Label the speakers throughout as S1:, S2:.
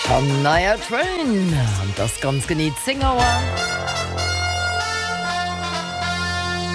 S1: Shania Twain an et ass ganz genee 10 Auer.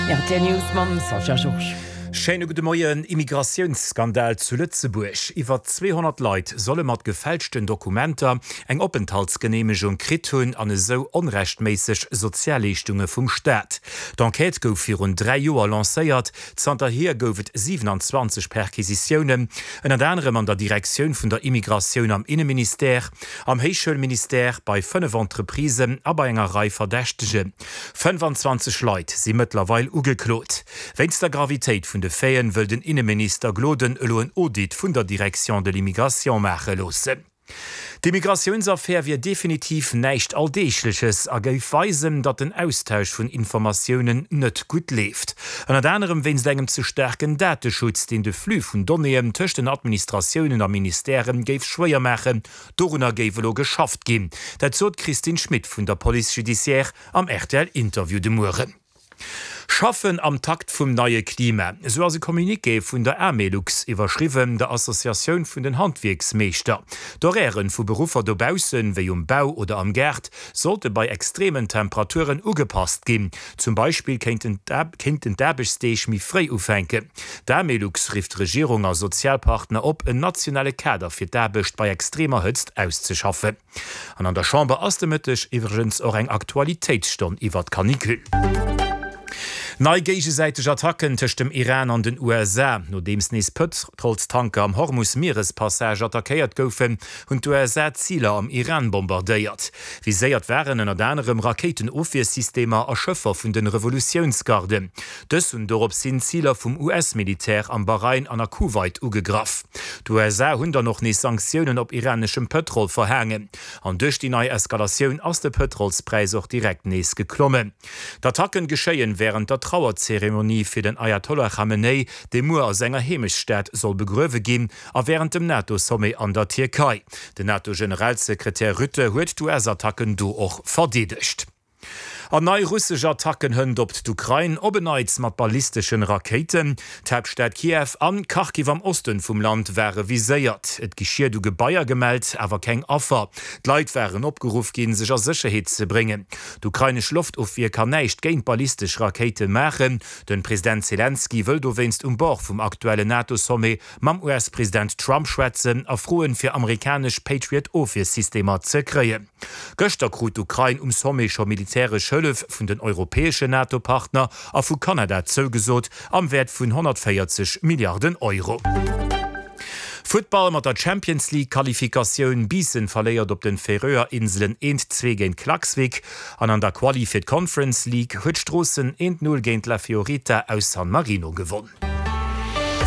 S1: Rtl News mam Sascha Georges.
S2: Schéine gudde Moien. Immigratiounsskandal zu Lëtzebuerg, Iwwer 200 Leit solle mat gefälschten Dokumenter eng Openthaltsgeneemegung kritt hunn an esou onrechtméisseg Sozialleeschtunge vum Staat. D'Enquête gouf virun 3 Joer lancéiert. Zanterhier gouf et 27 Perquisitiounen, ënnert anerem an der Direktioun vun der Immigratioun am Inneministère, am Héichschoulministère, bei 5 Entreprisen a bei enger Rei Verdächtegen. 25 Leit si mëttlerweil ugeklot. Wéinst der Gravitéit vun de Faiten wëll den Inneminister Gloden elo en Audit vun der Direction de l'immigration maache loossen. D'Immigratiounsaffär wier definitiv näischt Alldeegleches a géif weisen, datt den Austausch vun Informatiounen net gutt leeft. Ënnert anerem wéinst engem ze staarken Dateschutz, deen de Flux vun Donnéeën tëscht den Administratiounen a Ministèrë géif schwéier maachen. Dorunner géif elo geschafft ginn. Dat sot d'Christine Schmit vun der Police judiciaire am RTL-Interview de Mueren. Schaffen am Takt vum neie Klima, esou ass e Communiqué vun der Amelux iwwerschriwwen, der Associatioun vun den Handwierksmeeschter. D'Horairen vu Beruffer dobaussen, wéi um Bau oder am Gaart, sollte bei extremen Temperaturen ugepasst ginn. Zum Beispill kéinten d'Aarbechtsdeeg méi fréi ufänken. D'Amelux rifft Regierung a Sozialpartner op, en nationale Kader fir d'Aarbecht bei extremer Hëtzt auszeschaffen. An an der Chamber ass de Mëtteg iwwregens och eng Aktualitéitsstonn iwwer d'Canicule. Nei géigesäiteg Attacken tëscht dem Iran an den USA. Nodeems nees Pëtrolstanker am Hormus-Mierespassage attackéiert goufen, hunn d'USA Ziler am Iran bombardéiert. Viséiert waren ënnert anerem Rakéitenofwiersystemer a Schëffer vun de Revolutiounsgarden. Dës hunn dorops hin Ziler vum US-Militär am Bahrain an a Kuwait ugegraff. D'USA hunn dann och nees Sanktiounen op iraneschem Pëtrol verhaangen. An duerch déi nei Eskalatioun ass de Pëtrolspräis och direkt nees geklommen. D'Attacken geschéien wärend der Trauerzeremonie fir den Ayatollah Khamenei, dee muer a senger Heemechtsstad soll begruewe ginn, a wärend dem NATO-Sommet an der Tierkei. Den NATO-Generalsekretär Rutte huet d'US-Attacken do och verdeedegt. An nei russesch Attacken hënt op d'Ukrain, op en Neits mat ballisteschen Rakéiten. D'Haaptstad Kiew an Kharkiv am Osten vum Land ware viséiert. Et gi Schied u Gebaier gemellt, awer keng Affer. D'Leit waren opgeruff ginn, sech a Sécherheet ze bréngen. D'ukrainesch Loftofwier kann näischt géint ballistesch Rakéite maachen. Den President Selenskyj wëll dowéinst um Bord vum aktuellen NATO-Sommet mam US-President Trump schwätzen a froen, fir amerikanesch Patriot-Ofwiersystemer ze kréien. Gëschter krut d'Ukrain um Sommet scho militäresch Hëllef vun den europäeschen NATO-Partner a vu Kanada zougesot, am Wäert vun 140 Milliarden Euro. Futtball, Mat der Champions League Qualifikatioun, Biissen verléiert op den Färöer Inselen 1, 2 géint Klaksvik an an der Quali fir d'Conference League huet Stroossen 1, 0 géint La Fiorita aus San Marino gewonn.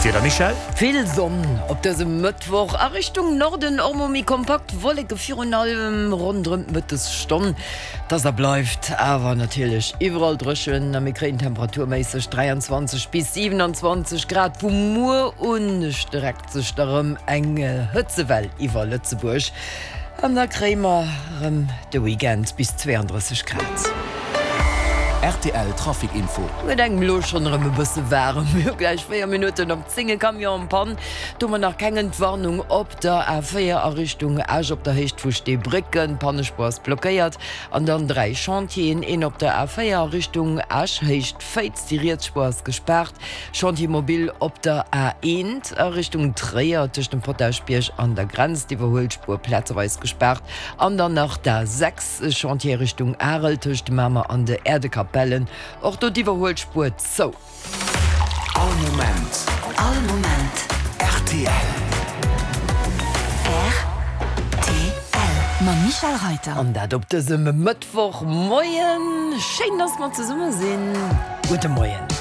S2: Wieder Michèle?
S1: Vill Sonn op dësem Mëttwoch, a Richtung Norden och mol méi kompakt Wolleke, virun allem ronderëm d'Mëttesstonn. Et ass a bleift awer natierlech iwwerall dréchen a mir kréien temperaturméisseg 23 bis 27 Grad. Vu muer un streckt sech da rëm eng Hëtzewell iwwer Lëtzebuerg an da kréie mer rëm de Weekend bis 32 Grad.
S3: Rtl Trafic Info.
S1: Gëtt engem elo schonn erëm e bësse waarem. Mir hu gläich 4 Minutten op 10, e Camion en panne. Do hu mer nach keng Entwarnung op der A4 a Richtung Esch op der Héicht vu Steebrécken. D'Pannespuer ass blockéiert. An dann 3 Chantieren, een op der A4 a Richtung Esch, Héicht Féiz, déi riets Spuer ass gespaart. Chantier mobile op der A1 a Richtung Tréier tëscht dem Potaschbierg an der Grenz, d'Iwwerhuelspuer plazeweis gespaart. An dann nach d'A6. Chantier Richtung Arel tëscht Mamer an de Äerdekapellen, och do d'Iwwerhuelspuer zou.
S3: All Moment.
S4: All Moment.
S3: Rtl.
S4: Rtl. Mam Michèle Reyter.
S1: An dat op dësem Mëttwochmoien. Schéin, dass mer zesumme sinn. Gudde Moien.